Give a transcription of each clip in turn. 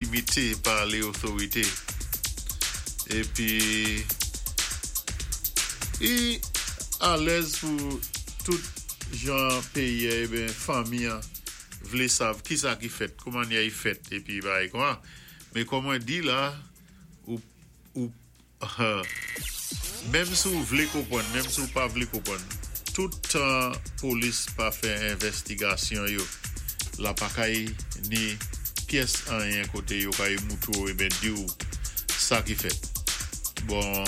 Limité pa lé otorité épi i alèz pou tout jan péyi a ében fanmi an vlé sav kisa ki fèt, kou mannyè i fèt épi bagay kon a. Mé kòm mwen di la ou ou Menm si w vlé konpwann, menm si w pa vlé konpwann, tout tan polis pa fè envèstigasyon yo, la pa kay ni pyès anyen koté yo kay moutré w eben di w sa ki fèt. Bon,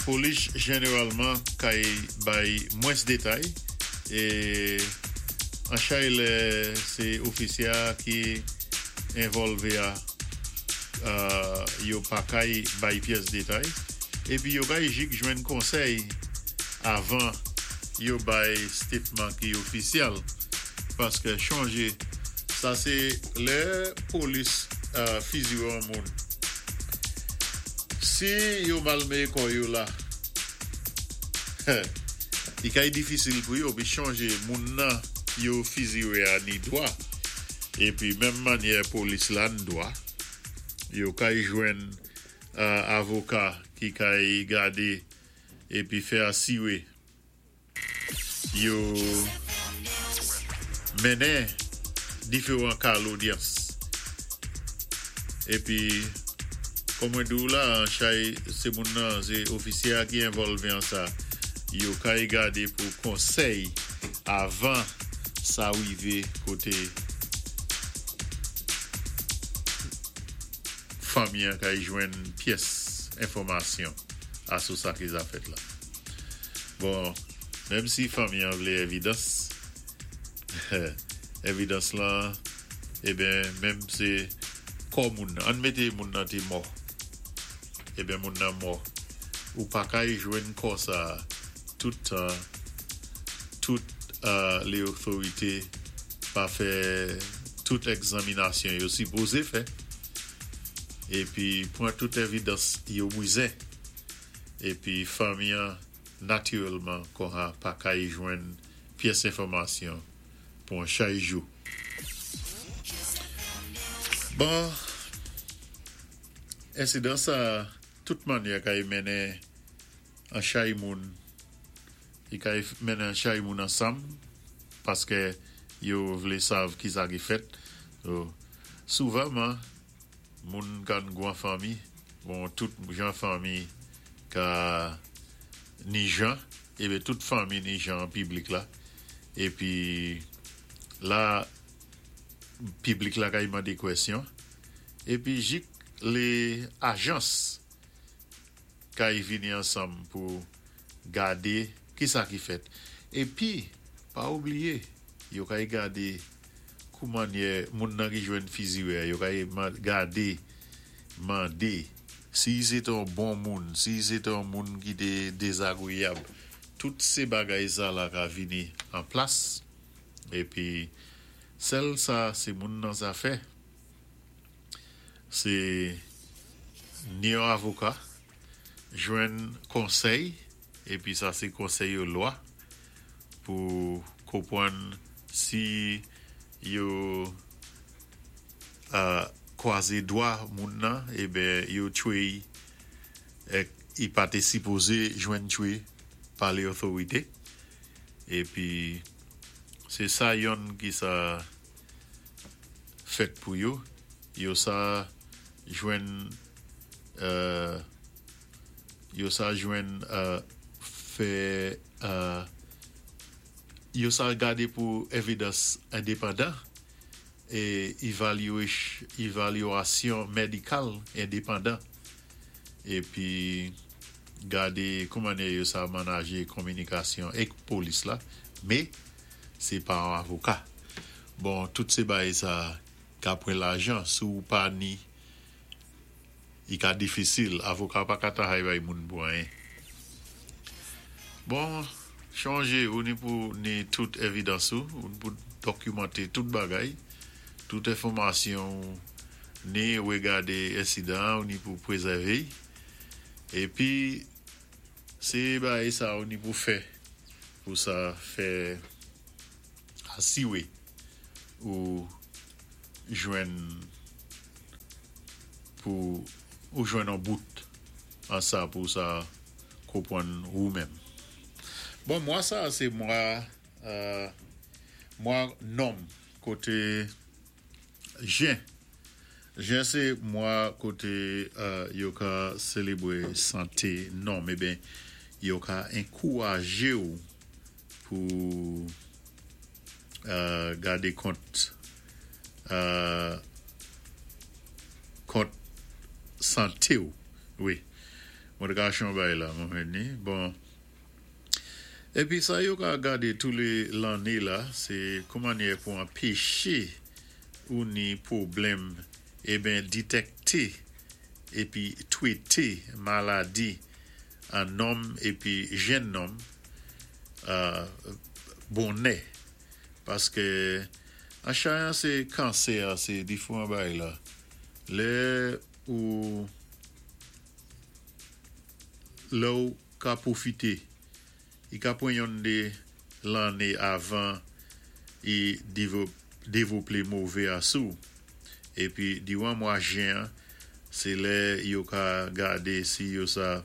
polis jeneralman kay bay mwens detay é an chay lè sé ofisyé a ki envòlvé a. Yo pa kay bay pyès detay, épi yo kay jik jwenn konsèy avan yo bay statement ki ofisyèl, paskè chonjé sa sé lè polis fiziwé on moun, si yo mal méyé kò yo la, i kay difisil pou yo, pi chonjé moun nan yo fiziwé a ni dwa. Epi menm mannyè polis la n dwa, yo kay jwenn avoka ki kay gade epi fè asire yo mennen diferan ka lodyans. Epi kòm mwen di w la an chay se moun nan se ofisye a ki envòlve an sa, yo kay gade pou konsèy avan sa rivé koté fanmi an kay jwenn pyès enfòmasyon a sou sa ki za fèt la. Bon, menm si fanmi an vlé èvidans, èvidans lan, eben menm sé kò moun nan, ann mété moun nan té mò, eben moun nan mò, ou pa kay jwenn kò sa tout tan tout lé otorité pa fè tout ègzaminasyon yo sipozé fè épi pwan tout èvidans yo bwizen épi fanmi an natirèlman konha pa kay jwenn pyès enfòmasyon pou an chay jou. Bon, ensidan sa tout mannyè kay mennen an chay moun, i kay mennen an chay moun ansanm paskè yo vlé sav kisa ki fèt. So, souvanman moun kann gwan fanmi, bon tout jan fanmi ka ni jan, eben tout fanmi ni jan an piblik la, épi la piblik la kay mandé kwèsyon, épi jik lé ajans kay vini ansanm pou gade kisa ki fèt. Épi pa oubliyé yo kay gade kou mannyè moun nan ki jwenn fiziwè a, yo kay gade mande si i sé té on bon moun, si i sé té on moun ki té dézagreyab, tout sé bagay sa la ka vini an plas. Épi sèl sa sé moun nan sa fè. Se ni yon avoka, jwenn konsèy, épi sa sé konsèy yo lwa pou konpwann si yo kwazé dwa moun nan eben yo tchwé i èk i pa té sipozé jwenn tchwé pa lé otorité épi sé sa yonn ki sa fèt pou yo, yo sa jwenn yo sa jwenn fè yo sa gade pou evidans endepandan e evalyasyon medikal endepandan épi gade kouman yo sa manaje kominikasyon èk polis la, mé sé pa an avoka. Bon, tout sé bagay sa ka pwan lajan si ou pa ni i ka difisil, avoka pa ka tahay bay moun pou anyen. Bon, chonjé ou ni pou ni tout èvidans ou, ou ni pou dokimanté tout bagay, tout enfòmasyon ou ni regade ensidan ou ni pou prézèvé épi sé bagay sa ou ni pou fè pou sa fè asiwé ou jwenn. Pou ou jwenn an bout an sa pou sa konpwann ou menm. Bon, mwa sa sé mwa nonm koté jen. Jen sé mwa koté yo ka sélébwé santé nonm eben yo ka ankourajé-w pou gadé kont santé-w wi. Mwen té kaché yon bagay la mwen jwenn ni. Bon, épi sa yo ka gadé tou lé lanné la sé kou mannyè pou anpeché ou ni pwoblèm eben ditèkté épi twété maladi an nonm épi jenn nonm bonè paské an chayan sé kansè sé difwan bagay la lè ou lè-w ka pwofité i ka pwan yonn dé lanné avan i dévoplé mové a sou-w. Épi diwan mwa jen an sé lè yo ka gadé si yo sa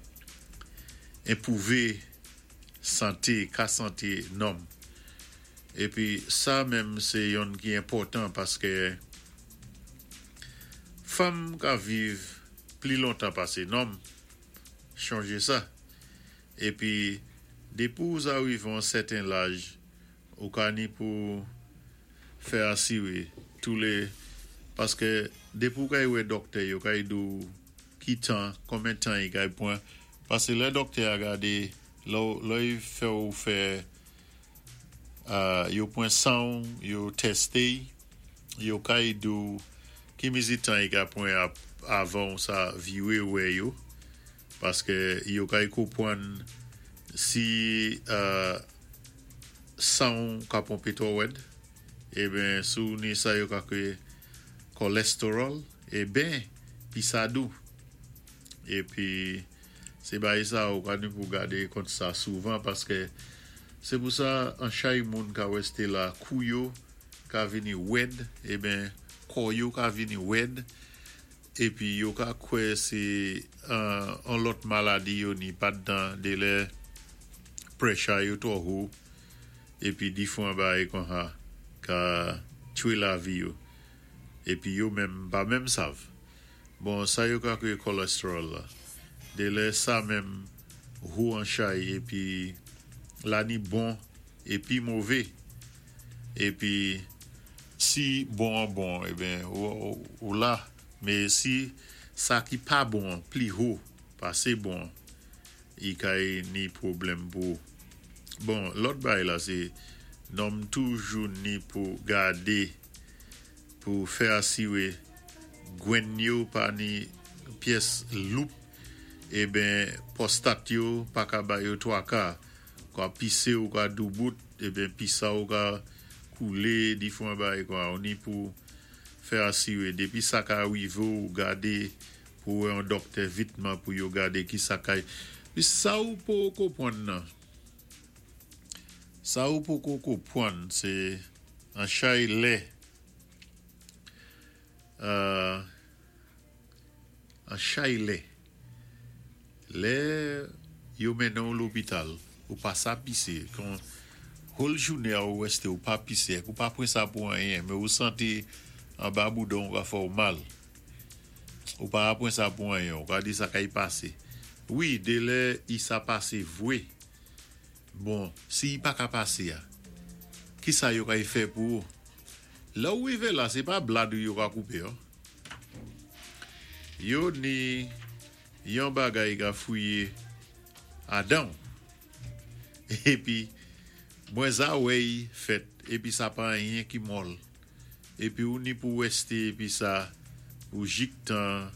enpwouvé santé ka santé nonm. Épi sa menm sé yonn ki enpòtan paské fanm ka viv pli lontan pasé nonm, chonjé sa. Épi dépi ou sa rivé yon sèten laj ou ka ni pou fè asiré tou lé paské dépi ou kay wè dòktè yo kay di-w ki tan konbyen tan i kay pwan pasé lè dòktè a gadé lè i fè-w fè yo pwan san-w yo tèsté-y yo kay di-w ki mizi tan i ka pwan avan-w sa viré wè yo paské yo kay konpwann si san-w ka ponpé twò wèd eben si-w ni sa yo ka kwé kòlèstewòl eben pi sa dou. Épi sé bagay sa ou ka ni pou gadé kont sa souvan paské sé pou sa an chay moun ka wèsté la kou yo ka vini wèd eben kò yo ka vini wèd épi yo ka kwè sé an lòt maladi yo ni paddan dé lè pressure yo twò wo épi difwan bagay konsa ka tchwé lavi yo épi yo menm pa menm sav. Bon, sa yo ka kwé kòlèstewòl la dé lè sa menm wo an chay épi la ni bon épi mové. Épi si bon an bon eben ou la, mé si sa ki pa bon an pli wo pasé bon an i kay ni pwoblèm pou ou. Bon, lòt bagay la sé nonm toujou ni pou gadé pou fè asiré gwenn yo pa ni pyès loup eben pwòstat yo pa ka ba yo twaka kwa pisé ou ka doubout eben pisa-w ka koulé difwan bagay kwa ou ni pou fè asiré dépi sa ka rivé-w gadé pou wè yon dòktè vitman pou yo gadé ki sa kay pi sa ou poko konpwann nan sa ou poko konpwann sé an chay lè an chay lè lè yo mennen-w lopital ou pa sa pisé kon whole jounen an ou rèsté ou pa pisé ou pa pran sa pou anyen men ou santi anba boudan-w ka fè-w mal ou pa pran sa pou anyen ou ka di sa kay pasé wi dé lè i sa pasé vwé bon si i pa ka pasé a ki sa yo kay fè pou ou lè ou rivé la sé pa blad ou yo ka koupé an yo ni yon bagay ka fouyé adan-w épi mwen za wè-y fèt épi sa pa anyen ki mòl épi ou ni pou wèsté épi sa pou jiktan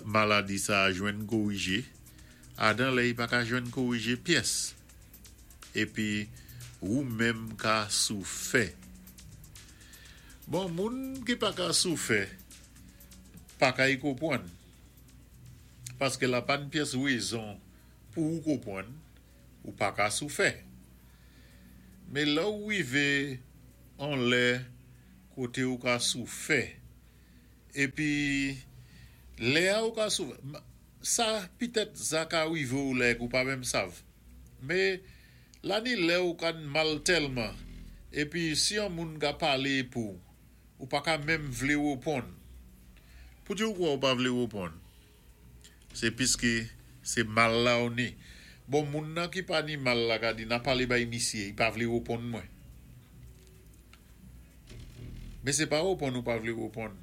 maladi sa jwenn korijé adan lè i pa ka jwenn korijé pyès épi wou menm ka soufè. Bon, moun ki pa ka soufè pa kay konpwann paské la pa ni pyès wézon pou ou konpwann ou pa ka soufè. Mé lè ou rivé an lè koté ou ka soufè épi Lè a ou ka souv sa pitèt sa ka wivé ou lè ou pa menm sav. Mé la ni lè ou ka mal tèlman épi si yon moun ka palé pou ou pa ka menm vlé woponn. Pouti ou kwè ou pa vlé woponn? Sé piské sé mal la ou ni. Bon moun nan ki pa ni mal la ka di na palé bay misyé, i pa vlé woponn mwen. Mé sé pa woponn ou pa vlé woponn.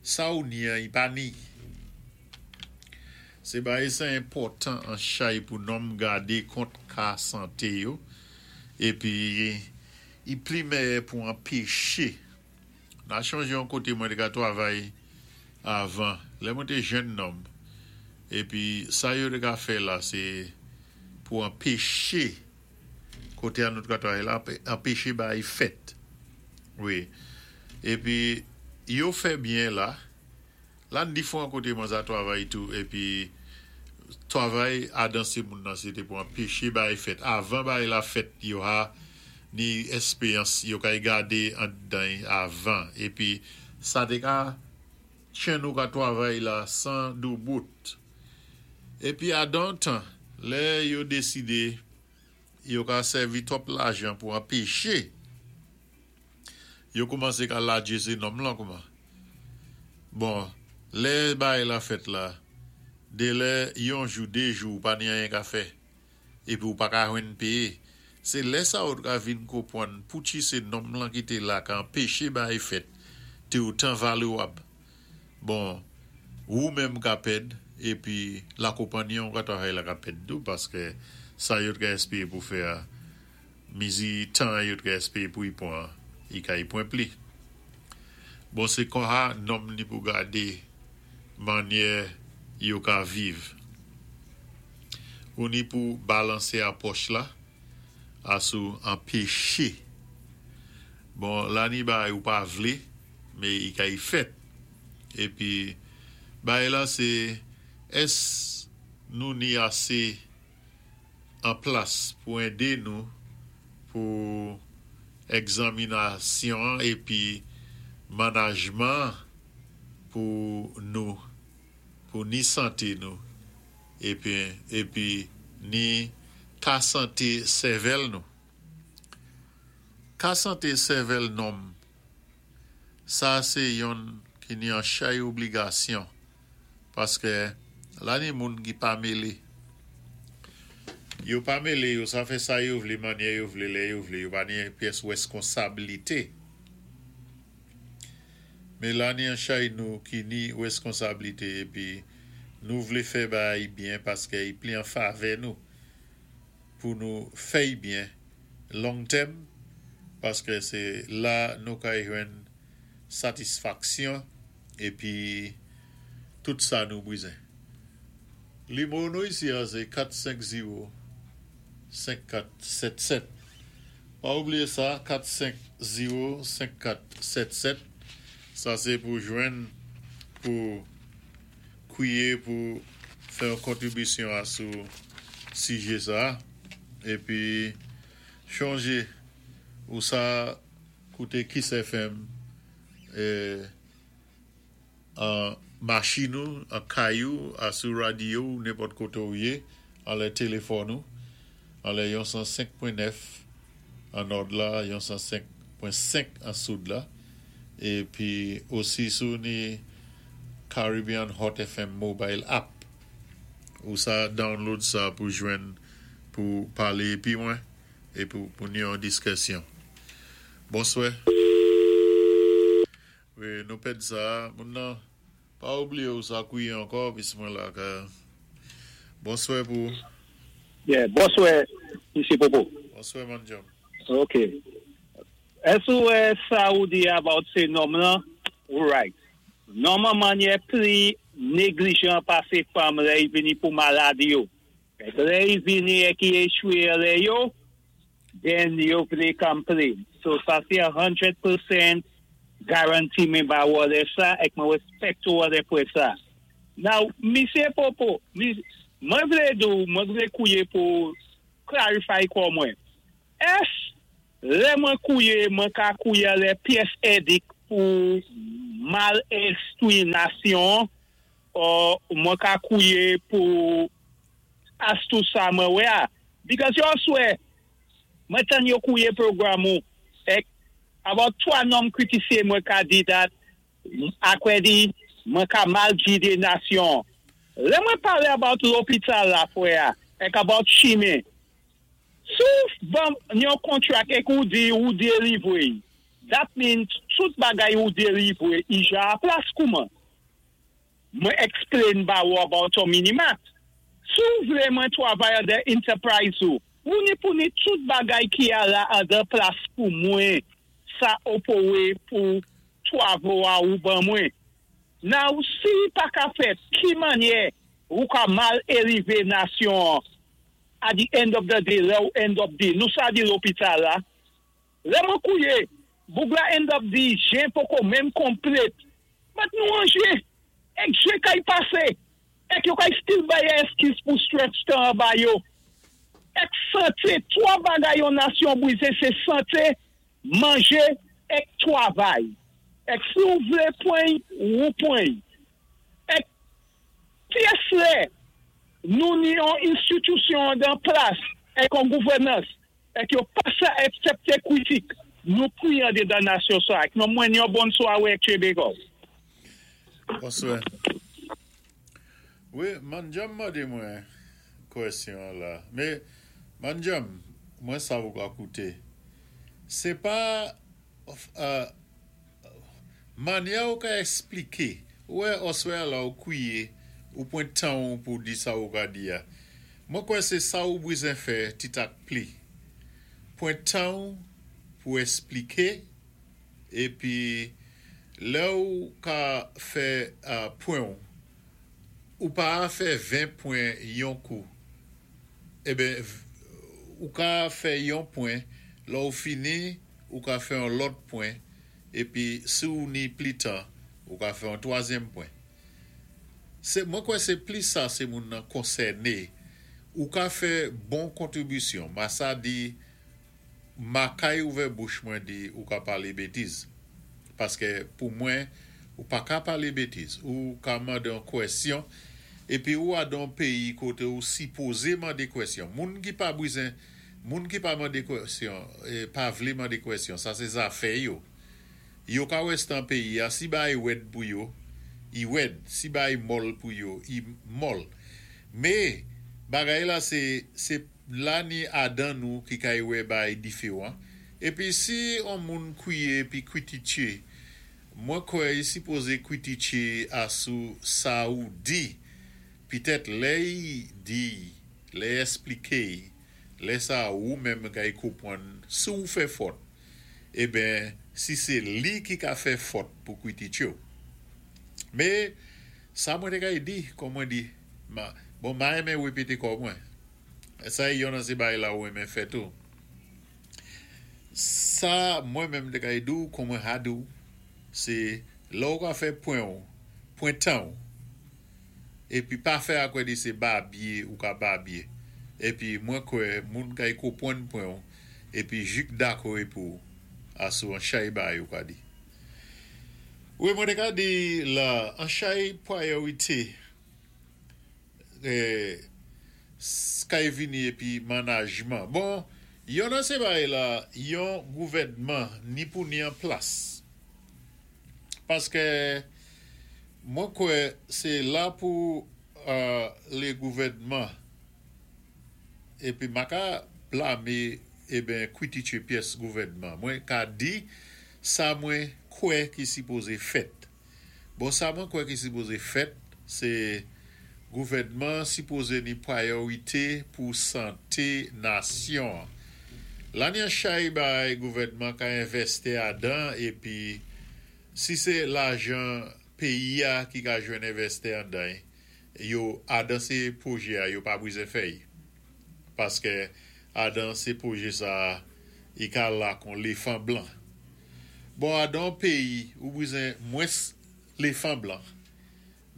Sa ou ni an i pa ni. Sé bagay sa enpòtan an chay pou nonm gadé kont ka santé yo épi i pli mèyè pou anpeché. Na chonjé yon koté mwen té ka twavay avan lè mwen té jenn nonm épi sa yo té ka fè la sé pou anpeché koté a nou té ka twavay la anpeché bagay fèt wi épi yo fè byen la. La n difwan koté mwen sa twavay tou épi twavay adan sé moun nan sé té pou anpeché bagay fèt avan bagay la fèt yo ha ni èspéyans yo kay gadé andan y avan épi sa té ka tchenn ou ka twavay la 100 doubout épi adan tan lè yo désidé yo ka sèvi twòp lajan pou anpeché yo koumansé ka ladjé sé nonm lan kouman. Bon, lè bagay la fèt la, délè yon jou, dé jou ou pa ni anyen ka fè, épi ou pa ka jwenn péyé. Sé lè sa ou ka vin konpwann pouti sé nonm lan ki té la ka anpeché bagay fèt té otan valwab. Bon, wou menm ka pèd, épi la konpanyi ou ka twavay la ka pèd tou paské sa yo t ka èspéwé pou fè a, mizi tan yo t ka èspéwé pou y pwan, i ka y pwan pli. Bon sé konha nonm ni pou gadé mannyè yo ka viv. Ou ni pou balansé apwòch la asou anpeché. Bon la ni bagay ou pa vlé mé i ka y fèt. Épi bagay la sé ès nou ni asé an plas pou édé nou pou ègzaminasyon épi manajman pou nou pou ni santé nou épi épi ni ka santé sèvèl nou. Ka santé sèvèl nonm sa sé yonn ki ni an chay obligasyon paské la ni moun ki pa mélé. Yo pa mélé yo sa fè sa yo vlé mannyè yo vlé lè yo vlé yo pa ni pyès wèskonsablité. Mé la ni an chay nou ki ni wèskonsablité épi nou vlé fè bagay byen paské i pli an favè nou pou nou fè'y byen long tèm paské sé la nou kay jwenn satisfaksyon épi tout sa nou bizen. Nimewo nou isi a sé 4 5 0 5 4 7 7. Pa oubliyé sa 4 5 0 5 4 7 7 sa sé pou jwenn pou kwiyé pou fè yon kontribisyon asou sijé sa épi chonjé ou sa kouté Kiss FM an machin ou, an kay ou, asou radyo ou, nenpòt koté ou yé, anlè téléfòn ou, anlè yon 105.9 an nòd la, yon 105.5 an soud la, épi osi sou ni Caribbean Hot FM mobile app. Ou sa download sa pou jwenn pou palé épi mwen é pou pou ni yon diskisyon. Bonswè. Wi, nou pèd sa, moun nan pa oubliyé ou sa kwiyé ankò pis mwen la ka. Bonswè pou ou. Yeah, bonswè Misye Popo. Bonswè Man John. Ok. Ès ou wè sa ou di about sé nonm lan, ou right. Nonm an mannyè pli neglijan pasé fanm lè i vini pou maladi yo. Lè i vini é ki échwé lè yo, then yo vlé complain. So sa sé 100% guarantee mwen ba ou lè sa ek mwen respect ou lè pou sa. Now, Misye Popo, mwen vlé di ou, mwen vlé kouye pou clarify kò mwen. Ès lè mwen kouye, mwen ka kouye lè pyès édik pou mal enstwi nasyon? Or mwen ka kouwé pou as tou sa mwen wè a. Because yo swè, mwen tann yo kouwé pwogram ou, èk about 3 nonm kritisé mwen ka di that akwè di mwen ka mal gidé nasyon. Lè mwen palé about lopital la fwè a, èk about chimen. Si ou ban yon contract èk ou di ou delivwé, that means tout bagay ou delivwé i ja a plas kouman. Mwen explain ba ou about yon minimat. Si ou vlé mwen twavay an de enterprise ou, ou ni pou ni tout bagay ki a la an de plas pou mwen sa opowé pou twavo a ou ban mwen. Now, si pa ka fèt, ki mannyè ou ka mal élivé nasyon at the end of the day, lè ou end up di, nou sa di lopital la, lè mwen kouwé, boug la end up di, jen poko menm konplèt, but nou an jen, èk jen kay pasé, èk yo kay still bay eskiz pou stretch tan ba yo. Èk santé, 3 bagay yon nasyon bwizen, sé santé, manjé, èk twavay. Èk si ou vlé pwen, ou pwen. Èk pyès lè, nou ni yon enstitisyon dan plas, èk an gouvènans, èk yo pa sa aksepté kritik, nou kwiyan de dan nasyon sa. Èk nou mwen yon bon swawé èk Chebego. Bonswè. Wi, Manjam mandé mwen kwèsyon la. Mé, Manjam, mwen sa ou ka kouté. Sé pa mannyè ou ka èspliké. Wè, oswè la ou kwié, ou pwan tan ou pou di sa ou ka di a. Mwen kwè sé sa ou bwizen fè ti tak pli. Pwan tan ou pou èspliké, épi lè ou ka fè pwen ou, ou pa fè 20 pwen yon kou. Eben, ou ka fè yon pwen, lè ou fini, ou ka fè yon lòt pwen, épi si ou ni pli tan, ou ka fè yon twazyèm pwen. Sé, mwen kwè sé pli sa sé moun nan konsèné, ou ka fè bon kontribisyon. Ma sa di, ma kay ouvè bouch mwen di ou ka palé bétiz. Paské pou mwen, ou pa ka palé bétiz. Ou ka mandé an kwèsyon, épi ou a dan péyi koté ou sipozé mandé kwèsyon. Moun ki pa bwizen, moun ki pa mandé kwèsyon, pa vlé mandé kwèsyon, sa sé zafè yo. Yo ka wèstan péyi a, si bay wèd pou yo, i wèd, si bay mòl pou yo, i mòl. Mé, bagay la sé, sé la ni adan nou ki kay wè bay diféwan. Épi si on moun kwié pi kwititye, mwen kwè i sipozé kwititye asou sa ou di. Pitèt lè i di, lè èspliké, lè sa ou menm kay konpwann si ou fè fòt, eben si sé li ki ka fè fòt pou kwititye ou. Mé, sa mwen té kay di, kon mwen di, ma, bon, ma renmen wépété kò mwen. Sa é yon nan sé bagay la ou renmen fè tou. Sa mwen menm té kay di ou, kon mwen ha di ou, sé lè ou ka fè pwen ou, pwen tan ou, épi pa fè akwè di sé babye ou ka babye. Épi mwen kwè moun kay konpwann pwen ou, épi jik dakò é pou asou an chay bay ou ka di. Wi, mwen té ka di la, an chay priorité kay vini épi manajman. Bon, yon nan sé bagay la, yon gouvèdman ni pou ni an plas. Paské mwen kwè sé la pou lé gouvèdman épi ma ka blamé eben kwititye pyès gouvèdman. Mwen ka di sa mwen kwè ki sipozé fèt. Bon, sa mwen kwè ki sipozé fèt, sé gouvèdman sipozé ni priorité pou santé nasyon. La ni an chay bay gouvèdman ka envèsti adan épi si sé lajan péyi a ki ka jwenn envèsti andan yo adan sé pwojé a yo pa bwizen fè y. Paské adan sé pwojé sa i ka la kon léfan blan. Bon adan péyi ou bwizen mwens léfan blan,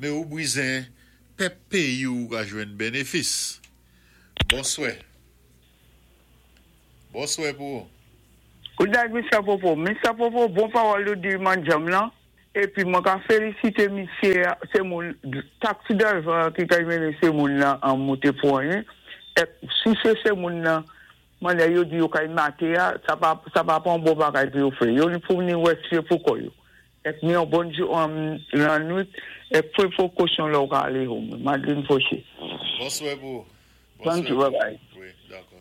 mé ou bwizen pèp péyi ou ka jwenn bénéfis. Bonswè. Bonswè pou ou. Good night, Mr. Popo. Mr. Popo, bon pawòl ou di Manjam lan. Épi mwen ka félisité misyé sé moun taxi driver ki kay mennen sé moun nan an monté pwan si sé moun nan mannyè yo di yo kay maté a sa pa sa pa pa yon bon bagay pou yo fè yo ni pou ni wè si pou kò yo èk ni yon bon jou lannwit èk pran pwekosyon lè ou ka alé home. Madeline Fauché. Bonswè pou ou. Thank you, bye bye. Wi, dakò.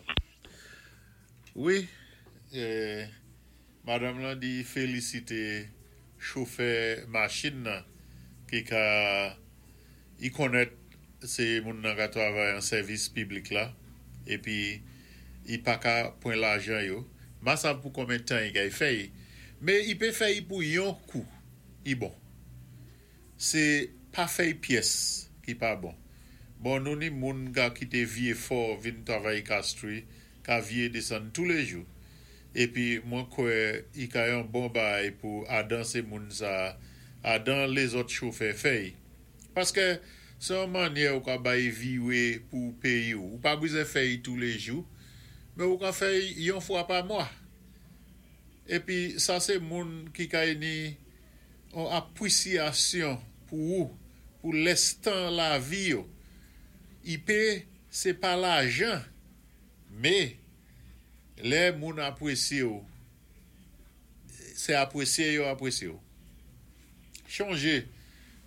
Wi, madanm lan di felisite chofè machin nan ki ka i konnèt se moun nan ka travay an sèvis piblik la epi i pa ka pwan lajan yo ma sav pou konbyen tan i kay fè i me i pe fè i pou yon kou i bon se pa fèy pyès ki pa bon bon nou ni moun ka kite vye fò vin travay Castries ka vye desann toulejou epi mwen kwè i ka yon bon baay pou adan se moun sa adan lezòt chofè fèy paskè se yon mannyè ou ka bay viwe pou peyi w ou pa bwizè fèy toulejou men ou ka fèy yon fwa pa mwa epi sa se moun ki kay ni on apwisyasyon pou ou pou lèstan lavi yo i pe se pa lajan Me, lè moun apwesye w, se apwesye yo apwesye w. Chonje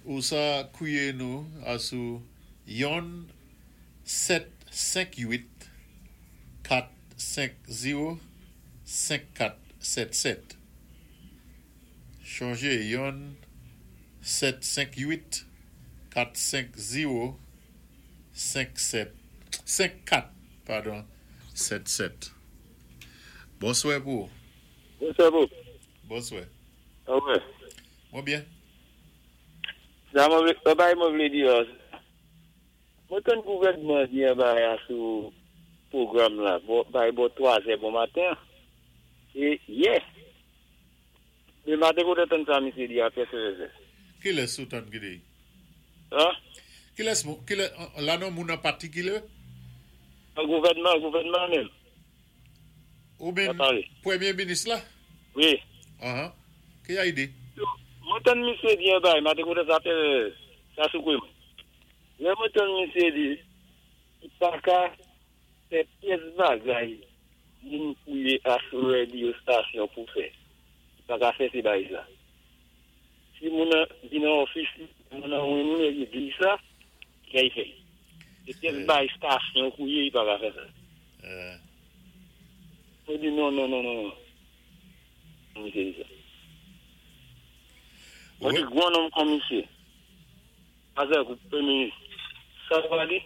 ou sa kwiye nou a sou yonn 7 5 8 4 5 0 5 4 7 7. Chonje yonn 7 5 8 4 5 0 5 7 5 4 padon 7 7 Bonswè pou ou. Bonswè pou. Bonswè. Ou wè. Mwen byen. Sa mwen vle, yon bagay mwen vle di la, mwen tann gouvènman di yon bagay a sou pwogram la, bò bay bò 3 zè bon maten an, e yè, le maten kote tann sa misye di a pè sè. Kilès ou tann ki di? An? Kilès moun, kilè, la non moun an patikilè? Nan gouvènman, gouvènman an menm. Ou menm premye minis la? Wi. Anhan. Ki a ide? Mwen tann misye di yon bagay, maten kote sa fè, sa soukwe mwen. Lè mwen tann misye di, li pa ka fè pyès bagay moun fouye aswè di yo stasyon pou fè. Li pa ka fè se bagay sa. Si moun nan vin nan ofis li, moun nan renmen li epi di sa, ki sa li fè? Se pyès bay stasyon kou ye li pa ka fè sa. Mwen di non non non non non. Misye di sa. Mwen di gwo nonm kon misye. Pase kou premye minis. Sa ou pa di?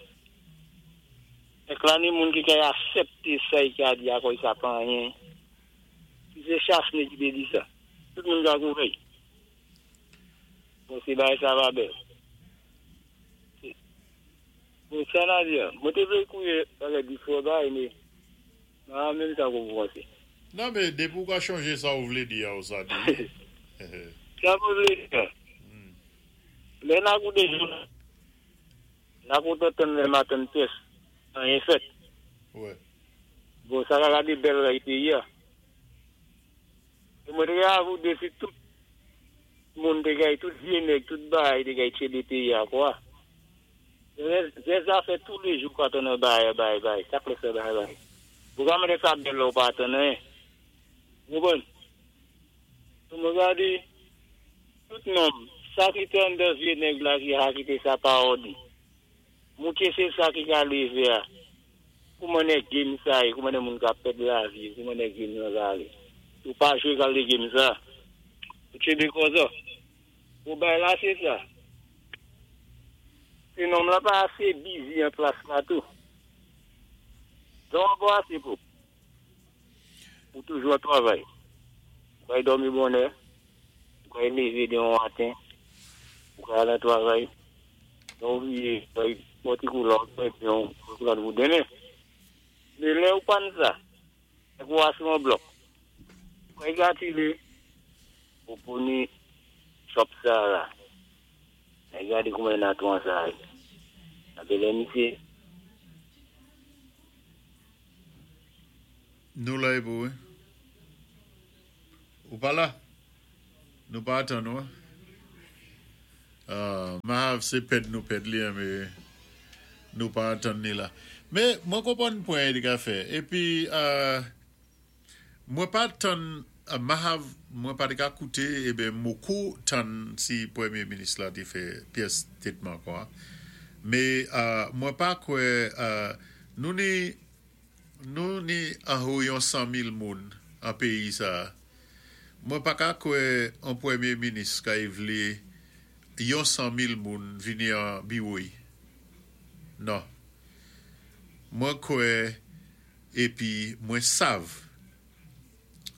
Ek la ni moun ki kay asepte sa i ka di akoy sa pa anyen. Si se Chasne ki te di sa. Tout moun ka kouvri. Bon se bagay sa pa bèl. Bon sa na di an. Mwen te vle kouye bagay di fò bagay men nan menm sa kou panse. Non men depi ou ka chanje sa ou vle di a ou sa di. Sa mwen vle di an. Lè na koute jounal. Na kontan tann lè matann pyès. Anyen fèt. Bon sa ka gade bèl ray peyi a. E mwen te avou de si tout moun te gay tout vye nèg tout bagay te gay tchebe peyi a kwa. Zè zafè tou le jou ka tann an bagay an bagay bagay sak lè fè bagay bagay. Ou ka mande sa bèl lè ou pa atann anyen. Ou konprann? Pou mwen gade tout nonm sa ki te anndan vye nèg la ki ha kite sa pa òdi. Mouche se sa ki ka leve a. Kouman nè game sa ye, kouman nè moun ka pèd lavi yo, kouman nè game lan ka ale. Ou pa jwe kalite game sa. Ou tchebe kòzò. Ou bay la se sa. Se nonm lan pa ase bizi an plas la tou. Don an bon ase pou. Ou toujou ap travay. Ou kay dòmi bonè. Ou kay leve de yon maten. Ou kay al nan travay. Lè ou vye, ou pran ti koulè ou pran byen ou pran koulè pou demen. Men lè ou pa n sa, nèg ou a sou yon blòk. Ou kay gatile, ou pou ni chòp sa la. Nèg gade kouman nan twan sa ye. Abe lè misye. Nou la epou wi. Ou pa la? Nou pa atann ou. Mahav sé pèd nou pèd li an mé nou pa antann ni la. Mé mwen konpwann pwen li ka fè. Épi mwen pa tann Mahav mwen pa té ka kouté eben moko tann si pwémyé minis la té fè pyès stétman kon a. Mé mwen pa kwè nou ni nou ni anho yon 100,000 moun an péyi sa a. Mwen pa ka kwè on pwémyé minis kay vlé yon 100,000 moun vini an biwo-y. Non. Mwen kwè épi mwen sav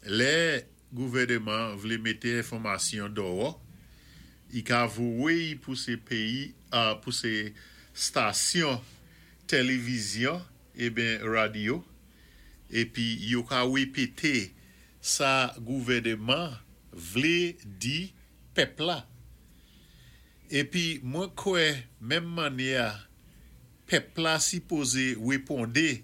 lè gouvèneman vlé mété enfòmasyon dòwò, i ka vowe'y pou sé péyi pou sé stasyon tèlivizyon eben radyo épi yo ka wépété sa gouvèneman vlé di pèp la. Épi mwen kwè menm mannyè a pèp la sipozé wéponde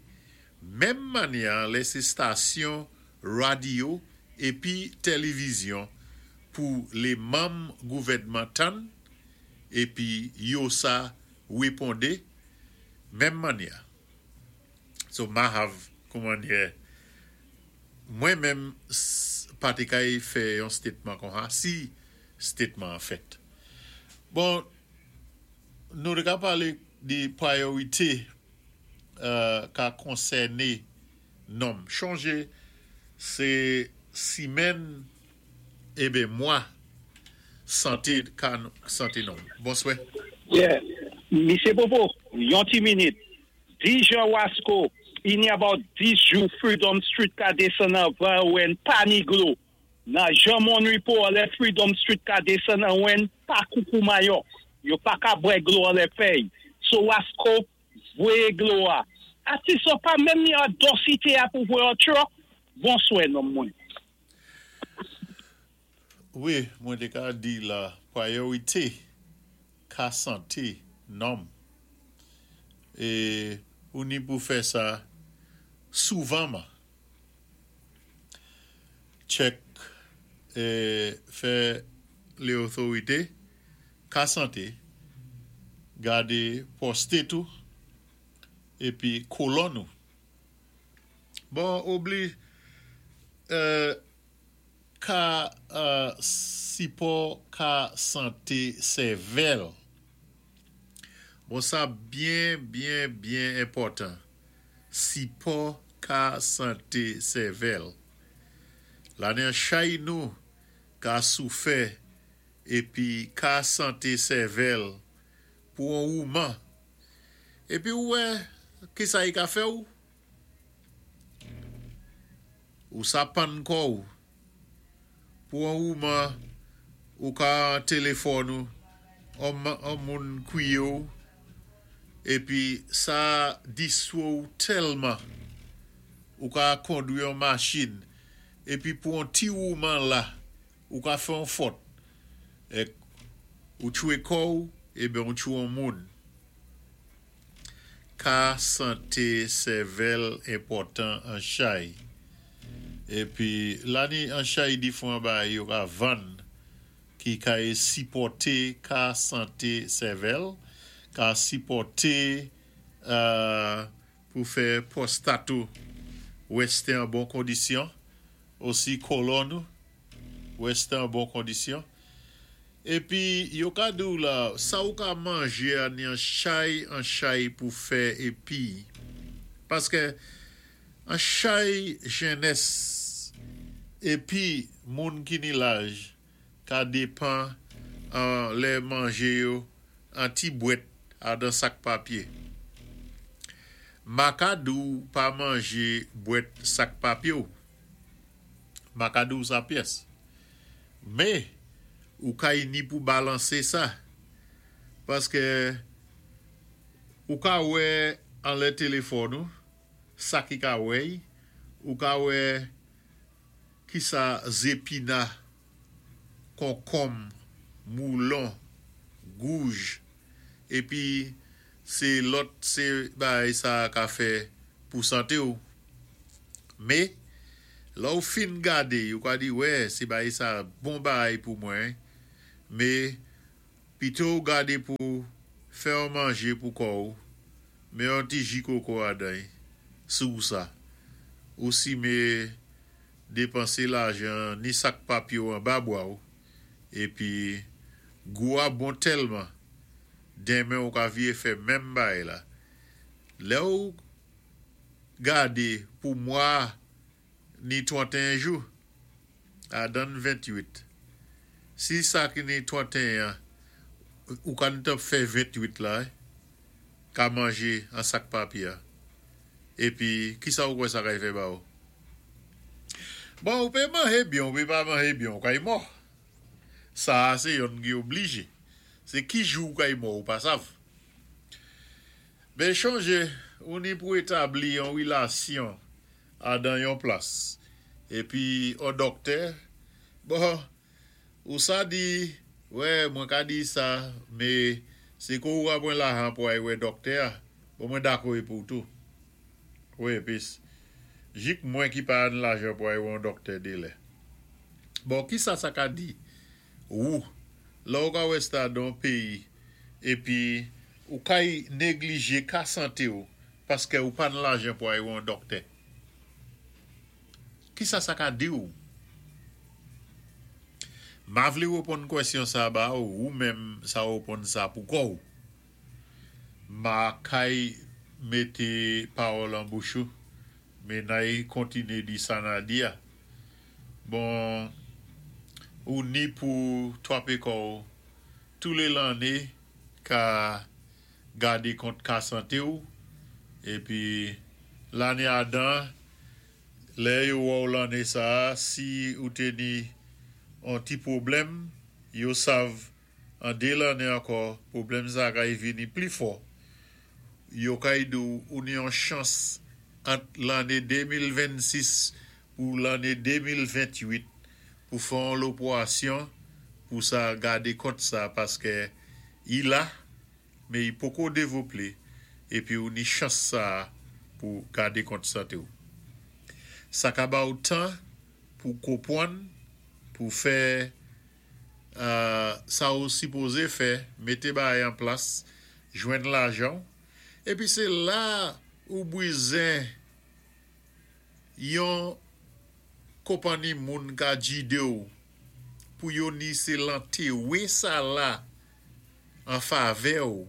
menm mannyè a lè sé stasyon radyo épi tèlivizyon pou lé manm gouvèdman tann épi yo sa wéponde menm mannyè a. So Mahav koumannyè mwen menm pa té kay fè yon statement konsa si statement an fèt. Bon nou té ka palé de priorité ka konsèné nonm. Chonjé sé simèn eben mwa santé ka santé nonm. Bonswè. Yeah Misye Popo yon ti minit Di Jean Wasco ini about 10 jou Freedom Street ka desann anvan wen pa ni glo. Nan Jean Monripo anlè Freedom Street ka desann an wen pa koukou mayòk. Yo pa ka bwè glo anlè fèy. So Wasco voyé glo a. Atis lan pa menm ni an densité a pou voyé an truck. Bonswè nonm mwen. Wi, mwen té ka di la priorité ka santé nonm é ou ni pou fè sa souvanman. Check é fè lé otorité ka santé gadé pwostate ou épi kolòn ou. Bon obli euh. Ka sipò ka sante sèvèl. Bon sa byen byen byen enpòtan. Sipò ka sante sèvèl. Lane an chay nou ka soufè epi ka sante sèvèl pou on wouman. Epi ou wè kisa i ka fè ou? Ou sa pann kò ou. Pou on wouman ou ka an telefòn ou on moun kwiye w epi sa distwe w tèlman ou ka kondwi on machin epi pou on ti wouman la ou ka fè on fòt ek ou tchwe kò ou eben ou tchwe on moun. Ka sante sèvèl enpòtan an chay. Epi la ni an chay difran bagay yo ka vann ki ka e sipòte ka sante sèvèl, ka sipòte pou fè pwostat ou reste an bon kondisyon, osi kolòn ou reste an bon kondisyon. Epi yo ka di w la, sa ou ka manje a ni an chay an chay pou fè epi. Paske an chay jenès epi moun ki ni laj ka depan an lè manje yo an ti bwèt a dan sak papye. Ma ka di w pa manje bwèt sak papye w. Ma ka di w sa pyès. Men, ou kay ni pou balanse sa. Paske, ou ka wè anlè telefòn ou, sa ki ka wè y, ou ka wè ki sa zepina, konkonm, moulon, gouj, epi se lòt se bagay sa ka fè pou sante w. Me, lè w fin gade, ou ka di wè se bagay sa bon bagay pou mwen, me. Pito ou gadé pou fè yon manjé pou kò-ou, mé yon ti ji koko adan-y, sou sa. Ou simé dépansé lajan ni sak papye-w anba bwa-ou, épi gou-a bon tèlman, denmen ou ka viyé fè menm bagay la. Lè-ou gadé pou mwa ni 31 jou, adann 28. Si sa ki ni 31 an, ou ka gntan fè 28 la, ka manje an sak papye a. Épi, kisa ou kwè sa kay fè ba ou? Bon, ou pé manje byen, ou pé pa manje byen, ou kay mò. Sa-a sé yonn ki oblije. Sé ki jou ou kay mò ou pa sav. Men chonje, ou ni pou établi yon wilasyon adan yon plas. Épi on dòktè, bon, ou sa di, wè, mwen ka di sa, mé sé kou ou ka pwan lajan pou ay wè dòktè a, bon mwen dakò épi ou tou. Wè, pis, jik mwen ki pa an lajan pou ay wè on dòktè délè. Bon, kisa sa ka di wou, lè ou ka wè sa dan on péyi, épi ou kay néglijé ka santé ou paskè ou pa an lajan pou ay wè on dòktè? Kisa sa ka di ou? Ma vlé wéponn kwèsyon sa ba ou, ou menm sa wéponn sa pou kò ou. Ma kay mété pawòl an bouch ou, mé nay kontiné di sa na di a. Bon, ou ni pou twapé kò ou toulé lanné ka gadé kont ka santé ou, épi lanné adan, lè yo wè ou lanné sa-a, si ou té ni on ti pwoblèm, yo sav an 2 lanné ankò pwoblèm sa kay vini pli fò, yo kay di ou ou ni on chans ant lanné 2026 pou lanné 2028 pou fè on lopwasyon pou sa gadé kont sa paskè i la mé i poko dévoplé épi ou ni chans sa pou gadé kont santé ou. Sa ka ba ou tan pou kopwann, pou fè sa ou sipozé fè, mété bagay an plas, jwenn lajan ou, épi sé la ou bwizen yon konpanni moun ka jide w pou yo ni se lantewe sa la an favè w.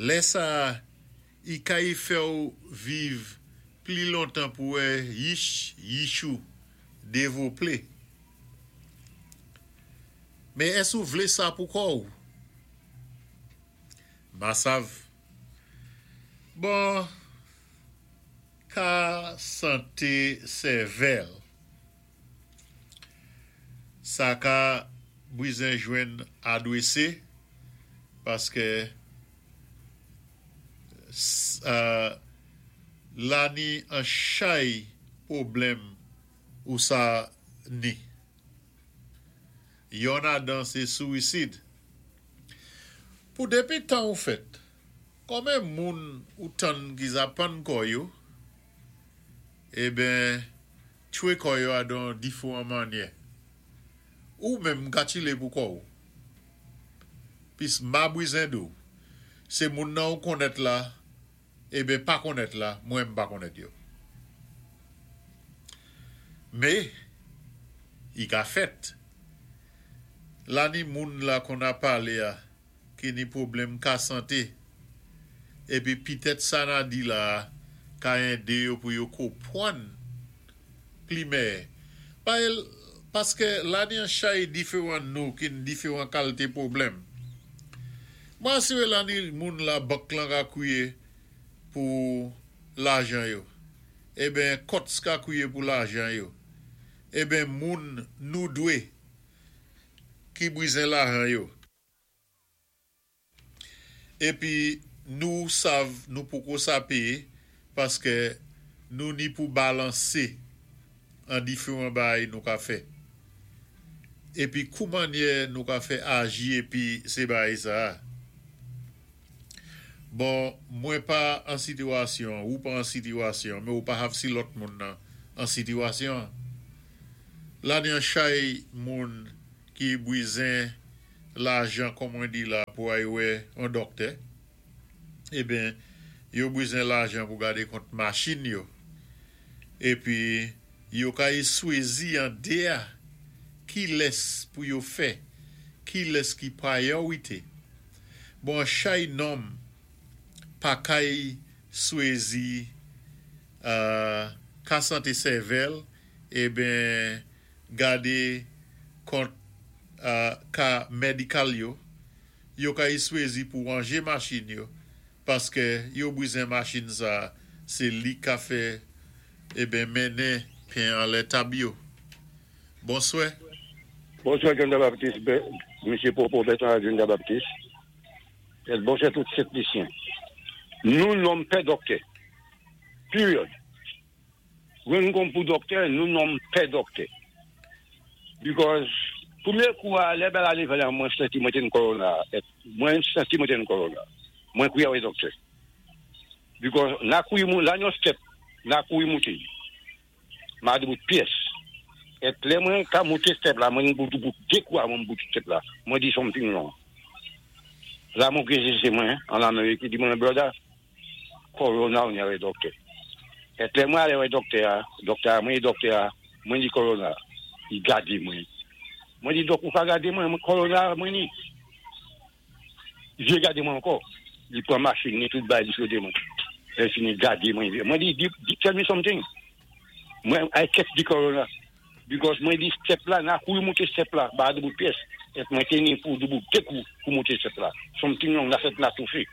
Lè sa a, i kay fè w viv pli lontan pou wè yich yich ou devople. Men ès ou vle sa pou kò ou? Ma sav. Bon, ka sante sèvèl. Sa ka bwizen jwenn adwese paskè la ni an chay pwoblèm ou sa ni. Yonn adan sé souwisid. Pou dépi tan ou fèt, konben moun ou tann ki za pann kò yo, eben tchwé kò yo adan difouwan mannyè. Ou menm ka tchilé pou kò ou. Pis ma bwizen di w, sé moun nan ou konnèt la, eben pa konnèt la, mwen m pa konnèt yo. Mé, i ka fèt. La ni moun la konn a palé a ki ni pwoblèm ka santé, épi pitèt sa na di la a ka èdé yo pou yo kopwann pli mèyè. Pa el, paskè la ni an chay diferan nou ki n diferan kalté pwoblèm. Mwen asiré la ni moun la bank lan ka kwiyé pou lajan yo. Eben kòts ka kwiyé pou lajan yo. Eben moun nou dwé ki bwizen lajan yo. Épi nou sav nou poko sa péyé paskè nou ni pou balansé an diferan bagay nou ka fè. Épi kou mannyè nou ka fè aji épi sé bagay sa a. Bon, mwen pa an sitiwasyon, ou pa an sitiwasyon, men ou pa hav si lòt moun nan an sitiwasyon. La ni an chay moun ki bwizen lajan kon mwen di la pou ay wè an dòktè. Eben, yo bwizen lajan pou gadé kont machin yo. Épi yo kay swézi an déa kilès pou yo fè, kilès ki priorité. Bon an chay nonm pa kay swézi ka santé sèvèl eben gadé kont ka medikal yo, yo kay swézi pou ranje machin yo paskè yo bwizen machin sa sé li ka fè eben mennen pen anlè tab yo. Bonswè. Bonswè John Jean Baptiste, Mesye Popo Bertrand ak John Jean Baptiste. Et bonswè tout Sent Lisyen. Nou nonm pè dòktè. Period. Mwen nou konn pou dòktè, nou nonm pè dòktè. Because premye kou a lè bal ale vè mwen santi mwen te n corona. Mwen santi mwen te n corona. Mwen kouye wè dòktè. Because na kouye moun, la yon step, na kouye moute. Ma di bout pyès. Et lè mwen ka moute step la, mwen bout bout de kou a mwen bout step la. Mwen di something wrong. La mwen kwe se mwen an Amerik, di mwen brother, corona ou nye wè dòktè. Et lè mwen ale wè dòktè a, dòktè a, mwen di dòktè a, mwen di corona. Li gade mwen. Mwen di dòk ou pa gade mwen, mwen corona mwen ni. Li gade mwen ankò. Li pran machin ni tout bay li sote mwen. Lè fini gade mwen. Mwen di, di, tell me something. Mwen, I catch the corona. Because mwen di step la, na kou moute step la, ba de bout pyès. Et mwen teni pou de bout de kou pou moute step la. Something wrong, la fèt la toufe.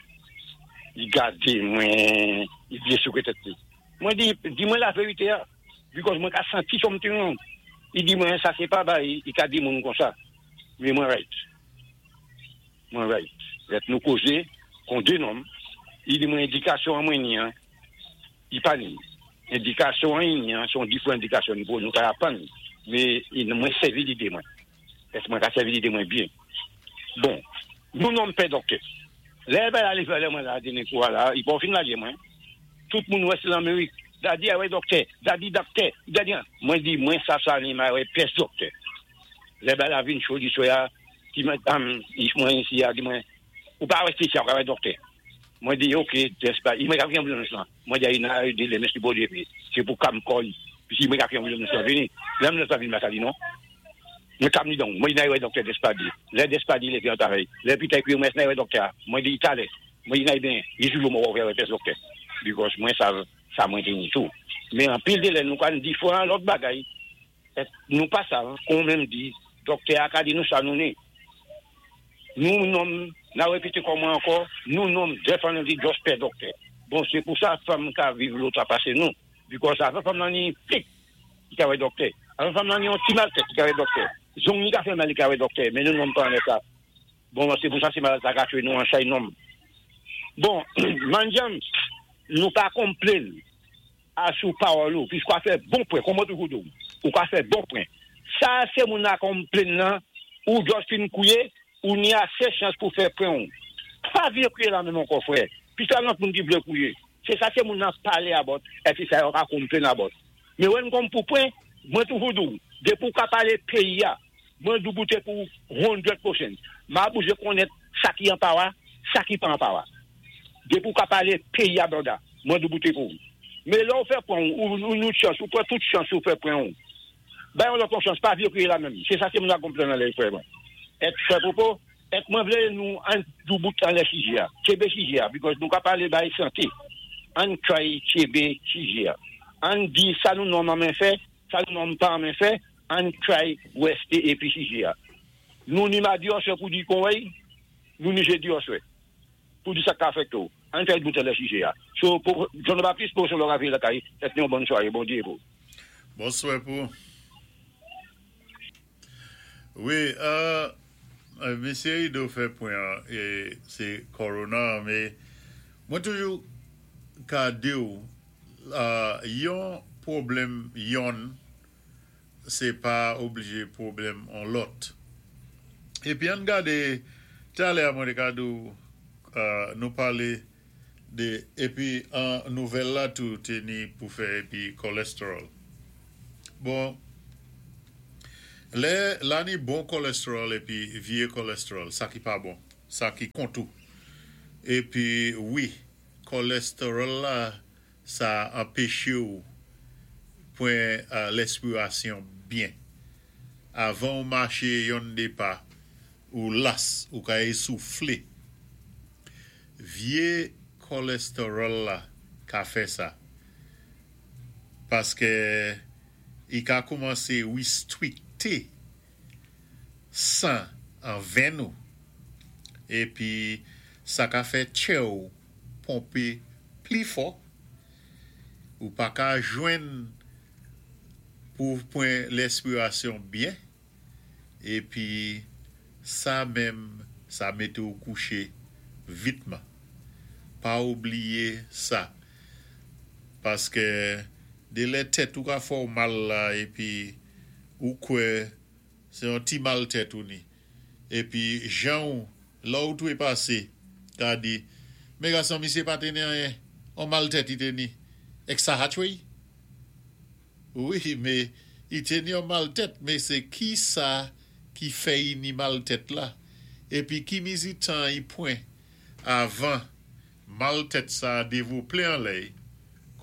Li gade mwen, li byen souke tèt li. Mwen di, di mwen la vérité a. Because mwen ka santi something wrong. Li di mwen, sa se pa bay, li ka di moun kon sa. Men mwen right. Mwen right. Let nou koze, kon de nonm, li di mwen endikasyon an mwen ni an, li pa ni. Endikasyon an ni an, son different endikasyon ni pou nou ka apan. Men mwen sèvi lidé mwen. Èske mwen ka sèvi lidé mwen byen? Bon, nou nonm pè dòktè. Lè bay ale fè lè mwen la dene kou la, i pa fin lage mwen. Tout moun wè se l'Amérique. Dadi a wè dòktè, dadi dòktè, dadi an. Mwen di mwen sa sa ni ma wè pyès dòktè. Lè bay la vin cho di soya, ki mwen am, mwen isi a di mwen, ou pa wè spécial, ou ka wè dòktè. Mwen di ok, des ba, i mwen ka ki ambulance lan. Mwen di na di le mesye bon Dieu, c'est pour kam kòy. Puis mwen ka ki ambulance lan vini. Lè ambulance lan vini, mwen ka di non. Mwen kam ni donc. Mwen di na wè dòktè Despadi. Lè Despadi lè fi an travay. Lè pita ekri mwen na wè dòktè. Mwen di talè. Mwen di na bien, li toujou mwen wè wè dòktè. Because mwen sa sa mwen teni tou. Men an pil de lè nou kan di fwa lòt bagay. Nou pa sa, kon menm di, dòktè a ka di nou sa nou ni. Nou nonm, na repete kon mwen ankò, nou nonm definitely just pè dòktè. Bon, se pou sa fanm ka viv lòt a pase nou. Because avan fanm nan ni plik, ki ka wè dòktè. Avan fanm nan ni yon ti mal tèt, ki ka wè dòktè. Zong ni ka fè mal, li ka wè dòktè. Men nou nonm pa anlè sa. Bon, se pou sa se malad sa ka tuye nou an chay nonm. Bon, manjam, nou pa complain a sou pawòl ou, pis kwa fè bon pwen, kon mwen toujou di ou, ou ka fè bon pwen. Sa se moun na complain nan, ou just fin kouye, ou ni ase chans pou fè pwen ou. Pa vye kouye la menm ankò frè. Pis la lòt moun ki vle kouye. Se sa se moun nan pale about, epi sa yo ka complain about. Men wè n kom pou pwen, mwen toujou di ou, depi ou ka pale peyi ya, mwen douboute pou 100%. Ma bouje konet sa ki an pawa, sa ki pa an pawa. Depi ou ka pale peyi ya brother, mwen douboute pou. Men lè ou fè pwen ou, ou nou chans, ou pran tout chans ou fè pwen ou. Bay yon lòt chans, pa vye kriye la menm. Se sa se moun la complain nan lè frè mwen. Et frè Popo, et mwen vle nou an doubout an lè sijè a. Tchebe sijè a, because nou ka pale bay sante. An try tchebe sijè a. An di sa nou nonm an men fè, sa nou nonm pa an men fè, an try weste epi sijè a. Nou ni madi oswe pou di kon wey, nou ni jedi oswe. Pou di sa ka afekte ou. An try bout an lè sijè a. So, pou John Baptiste, pou son lò ravye lakay, et yon bonne soirée, bon Dieu pou. Bonswa pou. Wi, Mesye Ido fè pwen an, e se corona, men mwen toujou ka di ou, yon pwoblèm yon, se pa oblije pwoblèm an lòt. Epi an gade, talè a mwen te ka di ou, nou pale de, epi an nouvèl la tou te ni pou fè epi kolesterol. Bon, Lè la ni bon kolesterol épi vyé kolesterol, sa ki pa bon, sa ki kont ou. Épi wi, kolesterol la sa anpéché ou pwan lèspirasyon byen. Avan ou maché yon dé pa, ou las, ou ka ésouflé. Vyé kolesterol la ka fè sa. Paské i ka koumansé wistwikté san an venn ou, épi sa ka fè tchè ou ponpé pli fò, ou pa ka jwenn pou pwan lèspirasyon byen, épi sa menm sa mété ou kouché vitman. Pa oubliyé sa, paské de lè tèt ou ka fè w mal la épi ou kwè sé yon ti mal tèt ou ni épi jan ou lè ou twépasé ka di men gason misyé pa té ni anyen on mal tèt i té ni èk sa hatchwey wi mé i té ni on mal tèt mé sé kisa ki fè i ni mal tèt la épi ki mizi tan i pwan avan mal tèt sa dévoplé anlè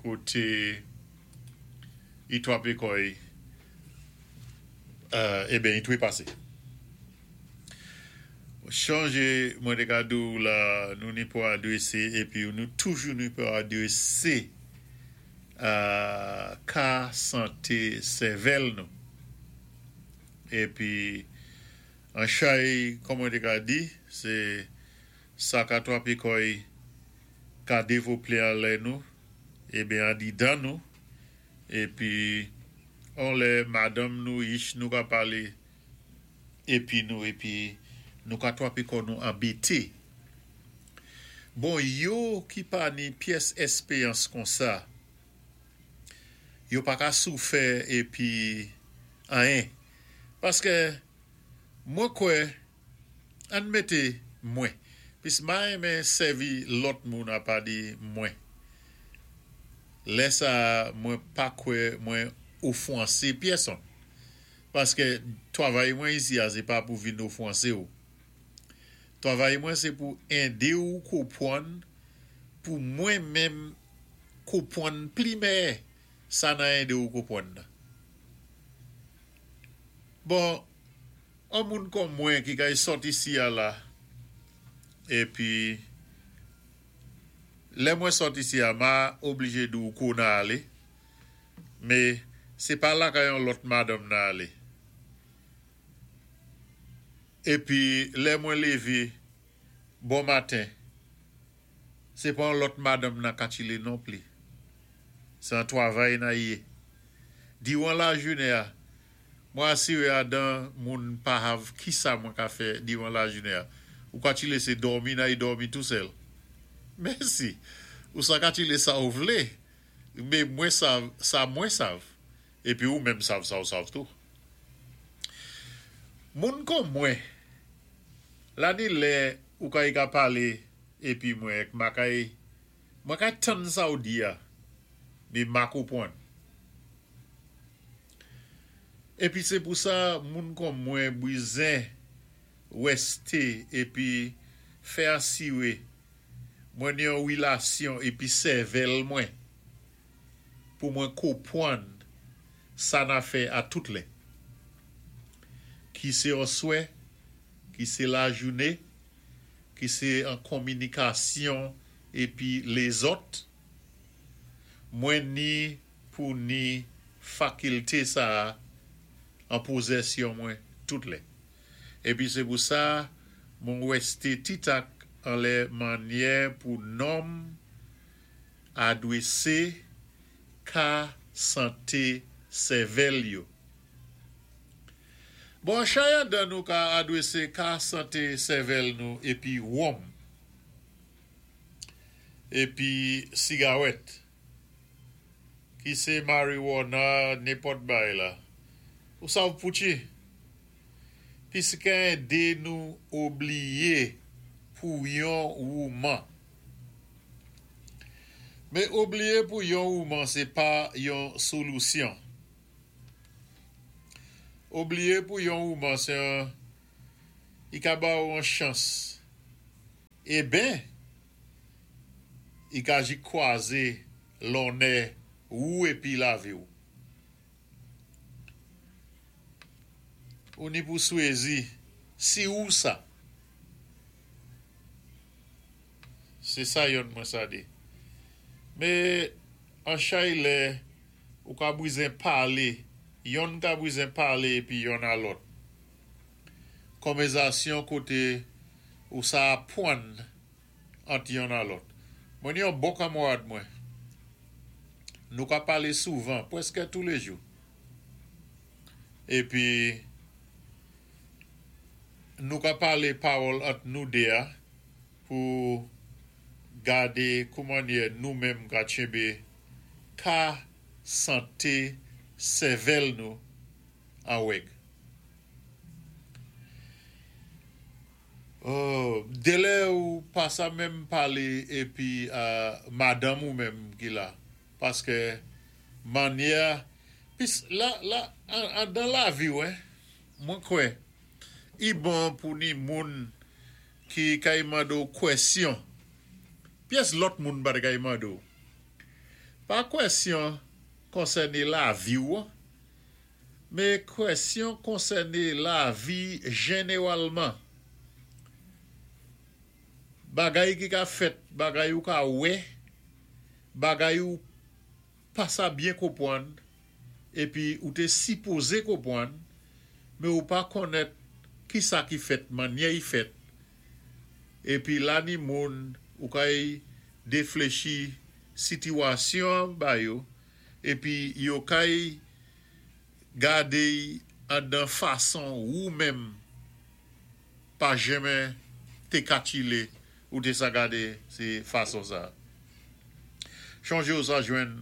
koté i twapé kò'y eben i twépasé. Chonjé mwen té ka di ou la nou ni pou adwésé épi nou toujou ni pou adwésé ka santé sèvèl nou. Épi an chay kòm mwen té ka di sé sa ka twapé kò'y ka dévoplé anlè nou eben andidan nou épi on lè madanm nou yich nou ka palé épi nou épi nou ka twapé kò nou anbété. Bon yo ki pa ni pyès èspéyans konsa yo pa ka soufè épi anyen paskè mwen kwè Ann mété mwen, pis ma renmen sèvi lòt moun apa di mwen. Lè sa a mwen pa kwè mwen ofwansé pyèsonn. Paskè twavay mwen isi a sé pa pou vin ofwansé ou. Twavay mwen sé pou édé ou kopwann pou mwen menm kopwann pli mèyè sa nan édé ou kopwann nan. Bon, On moun kòm mwen ki kay sòt isi a la, épi lè mwen sòt isi a ma oblije di w ko na alé, mé sé pa lakay on lòt madanm na alé. Épi lè mwen lévé bon maten, sé pa on lòt madanm na katchilé non pli. Sé an twavay na yé. Diwan lajounen a, Mwen asiré adan moun pa hav kisa mwen ka fè diwan lajounen a. Ou ka tchilé sé dòmi na i dòmi tou sèl. Mèsi. Ou sa ka tchilé sa ou vlé, mé mwen sav sa mwen sav. Épi ou menm sav sa ou sav tou. Moun kon mwen, la ni lè ou kay ka palé épi mwen èk ma kay mwen kay tann sa ou di a, mé ma konpwann. Épi sé pou sa moun kon mwen bwizen wèsté épi fè asiré mwen ni yon wilasyon épi sèvèl mwen pou mwen kopwann sa na fè a tout lè. Ki sé oswè, ki sé lajouné, ki sé an konminikasyon épi lézòt, mwen ni pou ni fakilté sa a an pozèsyon mwen tout lè. Épi sé pou sa mwen wèsté titak anlè mannyè pou nonm adwésé ka santé sèvèl yo. Bon, chay andan nou ka adwésé ka santé sèvèl nou épi wonm, épi sigawèt. Ki sé mariwana nenpòt bay la. Ou sav poutchi? Piskè édé nou obliyé pou yon wouman. Mé obliyé pou yon wouman sé pa yon solousyon. Oubliyé pou yon wouman sé an i ka ba ou an chans. Eben, i ka ji kwazé lonnè ou épi lavi ou. Ou ni pou swézi si ou sa. Sé sa yonn mwen sa di. Mé an chay lè ou ka bwizen palé, yonn ka bwizen palé épi yonn a lòt. Konvèzasyon koté ou sa apwann ant yonn a lòt. Mwen ni yon bon kanmwad mwen. Nou ka palé souvan, pwèskè toulèjou. Épi nou ka palé pawòl ant nou dé a pou gadé koumannyè nou menm ka tchenbé ka santé sèvèl nou an wèg. Oh delè ou pa sa menm pale epi a madanm ou menm ki la paskè manyè pis la la andan laviw hein mwen kwè i bon pou ni moun ki kay mande w kwèsyon pyès lòt moun pa te kay mande w pa kwèsyon konsène laviw Men kwèsyon konsène lavi jenewalman. Bagay ki ka fèt, bagay ou ka wè, bagay ou pa sa byen konpwann épi ou té sipozé konpwann, men ou pa konnèt kisa ki fèt, mannyè i fèt. Épi la ni moun ou kay défléchi sitiwasyon an ba yo épi yo kay gadé-y andan fason wou menm pa jenmen té katchilé ou té sa gadé sé fason sa. Chonjé ou sa jwenn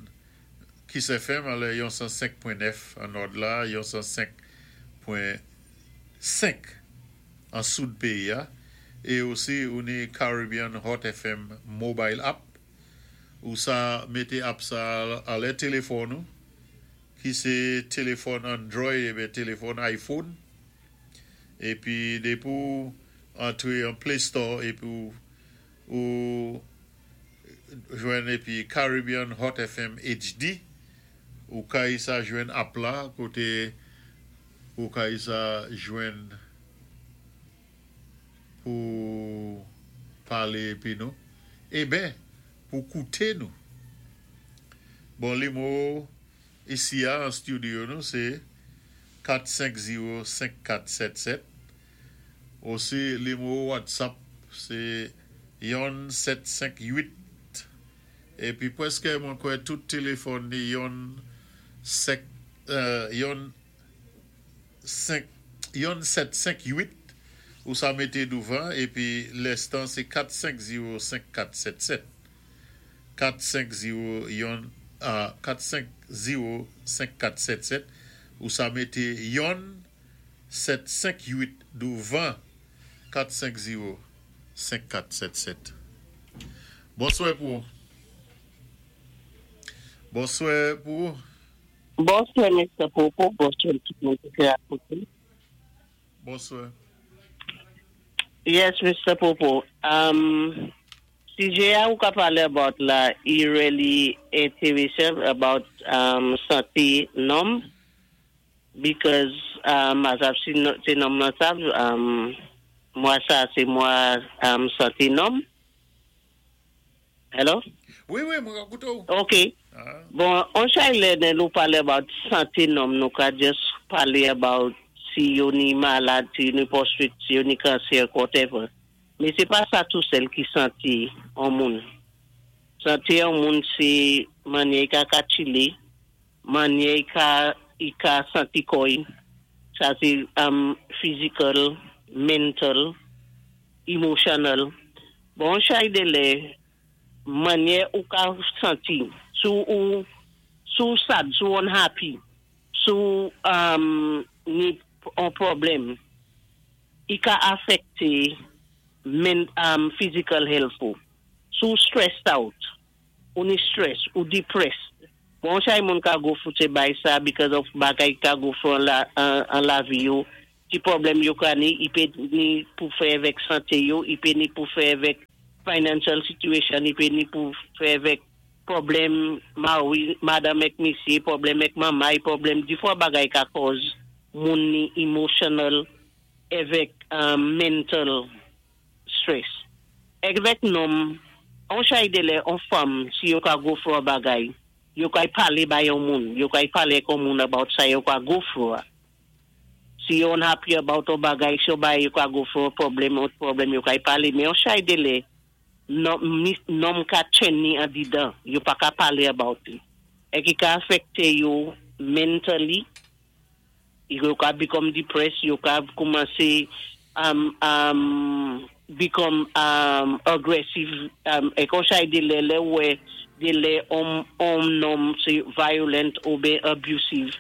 Kiss FM anlè yon 105.9 an nòd la, yon 105.5 an soud péyi a, é osi ou ni Caribbean Hot FM Mobile App. Ou sa mété app sa anlè téléfòn ou ki sé téléfòn Android ébyen téléfòn iPhone épi dépi ou antré an Play Store épi ou jwenn épi Caribbean Hot FM HD ou kay sa jwenn app la koté ou kay sa jwenn pou palé épi nou eben pou kouté nou bon limwo isi a an studio nou sé 4 5 0 5 4 7 7 osi limwo whatsapp sé yonn 7 5 8 épi pwèskè mwen kwè tout téléfòn ni yonn 5 yonn 5 yonn 7 5 8 ou sa mété douvan épi lèstan sé 4 5 0 5 4 7 7 4 5 0 yonn 4 5 0 5 4 7 7 ou sa mété yonn 7 5 8 douvan 4 5 0 5 4 7 7 Bonswè pou ou Bonswè pou ou. Bonswè Mister Popo, bonswè tout moun ki te ap koute. Bonswè. Yes Mister Popo, um, sijè a ou ka pale about la i really enteresan about um, sante nonm because um, as ap si se nonm lan sav um, mwa sa se mwa um, sante nonm. Hello? Wi, wi, mwen ka koute ou. Ok. Bon, on chay lè lè nou pale about sante nonm, nou ka just pale about si yo ni malad, si yo ni prostate, si yo ni kansè, whatever. Men sé pa sa tou sèl ki sante on moun. Sante on moun sé mannyè i ka katchilé, mannyè i ka i ka santi kò-y, sa sé um, physical, mental, emotional. Bon, on chay dé lè, mannyè ou ka santi, si ou si ou sad, si ou unhappy, si ou um, ni on pwoblèm, i ka afèkté men, um, physical health ou. Si ou stressed out, ou ni stress, ou depressed. Bon, chay moun ka go through sé bay sa because of bagay ka go through an lavi yo, ti pwoblèm yo ka ni, i pé ni pou fè avèk santé yo, i pé ni pou fè avèk financial situation, i pé ni pou fè avèk pwoblèm mari, madanm èk misyé, pwoblèm èk manmay, pwoblèm di fwa bagay ka kòz moun ni emotional avèk mental stress. Avèk nonm, on chay dé lè, on fanm, si yo ka go through a bagay, yo kay palé bay yon moun, yo kay palé kon moun about sa yo ka go through a. Si yo unhappy about on bagay, si yo bay yo ka go through a problem, on pwoblèm yo kay palé, men on chay dé lè, nonm ka tjenn ni andidan, yo pa ka palé about it. E ki ka afekté yo mentally, yo ka become depressed, yo ka koumansé become aggressive, e kon chay dé lè lè wè, dé lè on nonm sé violent ou ben abusive.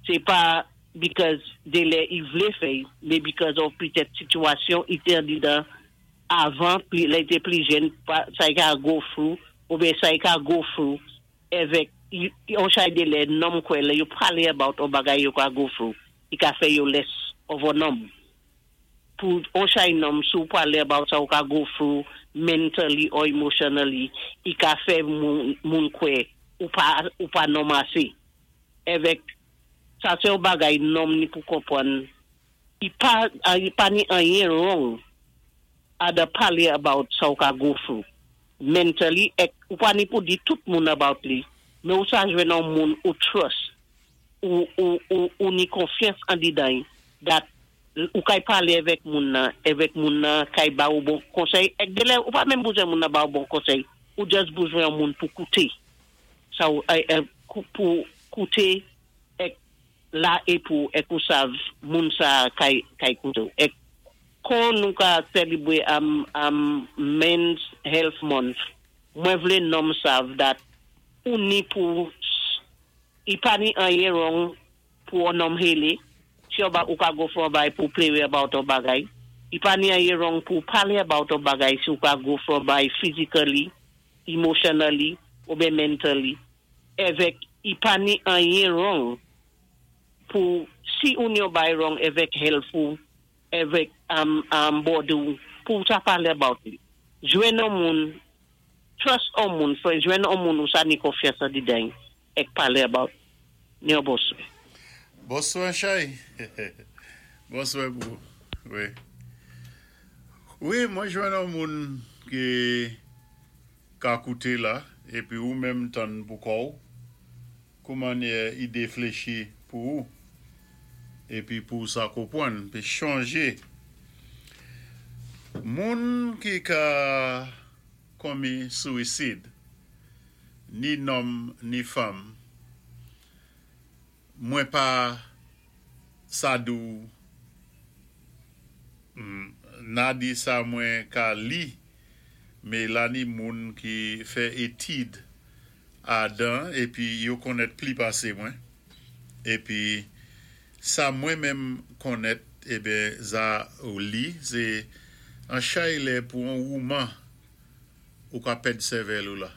Sé pa because dé lè i vlé fè, men because of petèt sitiyasyon i té andidan avan, pi lè i té pli jèn, sa i ka go through, ou ben sa i ka go through, avèk, on chay dé lè nonm kwè lè yo palé about on bagay yo ka go through, i ka fè yo less of a nonm. Pou on chay nonm sou palé about sa ou ka go through mentally or emotionally, i ka fè moun kwè ou pa nonm asé. Avèk, sa sé yon bagay nonm ni pou konpwann, i pa ni anyen wrong ada palé about sa ou ka go through. Mentally, ek, ou pa ni pou di tout moun about li, men ou sa jwenn an moun ou trust, ou ni konfyans andidan, that ou kay palé avèk moun nan, avèk moun nan kay ba ou bon konsèy, ek dé lè, ou pa menm bezwen moun nan ba ou bon konsèy, ou just bezwen an moun pou kouté. Sa ou, pou kouté, ek la e pou, ek ou sav moun sa kay kouté. Ek kon nou ka sélébwé Men's Health Month, mwen vlé nonm sav that ou ni pou, i pa ni anyen wrong pou an nonm hélé, si ou ba ou ka go for bay pou pléré about on bagay. I pa ni anyen wrong pou palé about on bagay si ou ka go for bay physically, emotionally, ou ben mentally. Evek, i pa ni anyen wrong pou, si ou ni yon bay wrong evek health ou, evek body ou, pou sa palé about li. Jwenn an moun, trust an moun, fè jwenn an moun ou sa ni konfyans andidan, ek palé about ni yon bonswè. Bonswè, Chay. Bonswè pou. Wi. Wi, mwen jwenn an moun ki ka kouté la, épi ou menm tann pou kò'w, kouman idé fléchi pou ou, épi pou sa konpwann, pi chanjé. Moun ki ka komi suicide, ni nonm ni fanm, mwen pa sa dou na di sa mwen ka li, men la ni moun ki fè étid adan, épi yo konnèt pli pasé mwen. Épi sa mwen menm konnèt, eben za ou li, sé an chay lè pou an wouman ou ka pèd sèvèl ou la.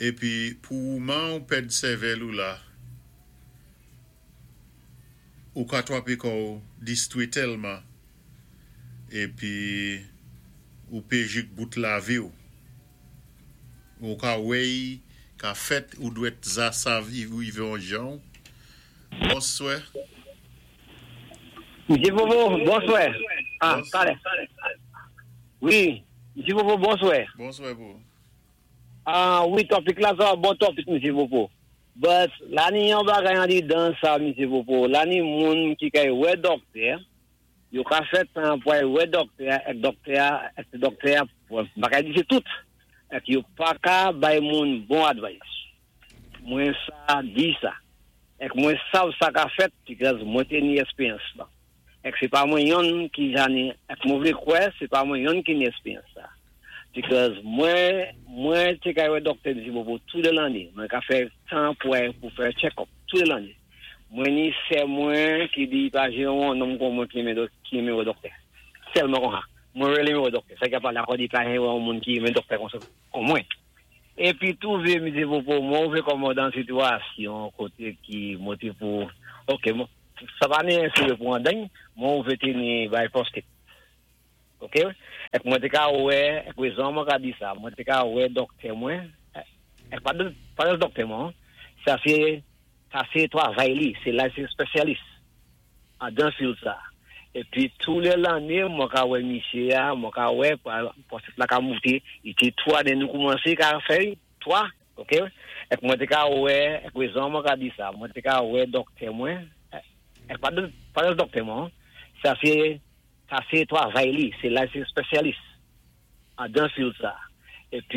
Épi pou wouman ou pèd sèvèl ou la, ou ka twapé kò'w distwé tèlman, épi ou pé jik bout lavi ou. Ou ka wèy, ka fèt ou dwèt za sav ou ivé an jan. Bonswè. Msye Vovo, bonswè. Ah, talè. Wi, Msye Vovo, bonswè. Bonswè pou. Ah, wi, topic la, sa bon topic, Msye Vovo. But, la ni yon bagay andidan sa, Msye Vovo. La ni moun ki kay wè doktè, yo ka fè tan pou ay wè doktè, ek doktè, ek doktè, bagay di se tout. Ek yo pa ka bay moun bon advice. Mwen sa di sa. Ek mwen sav sa ka fèt, because mwen te ni eksperyans la. Ek se pa mwen yon ki jani, ek mwen vle kwè, se pa mwen yon ki ni eksperyans sa. Because mwen te kay wè doktè di pou tout de l'année. Mwen ka fè tan pou fè check-up, tout de l'année. Mwen ni se mwen ki di pa jè yon nonm kon mwen ki renmen wè doktè. Sèlman kon ha. Mwen renmen wè doktè. Sa ki a pale akò di pa jè yon moun ki renmen doktè kon mwen. Épi tou vé misé Popo, mwen wouvé kòm mwen dan sitiyasyon koté ki mwen té pou ok sa pa ni enséwé pou andèy, mwen wouvé té ni bay prostate. Ok, èk mwen té ka wè, èk wézon mwen ka di sa, mwen té ka wè dòktè mwen, èk pa pa dòktè mwen, sa sé sa sé twavay li, sé la sé spésyalis andan field sa. Épi tou lè lanné mwen ka wè misyé a, mwen ka wè prostate la ka mouté, i té 3 lè nou koumansé ka fè 3, ok, èk mwen té ka wè, èk wézon mwen ka di sa, mwen té ka wè dòktè mwen, èk pa pa dòktè mwen, sa sé sa sé twavay li, sé la sé spésyalis andan field sa.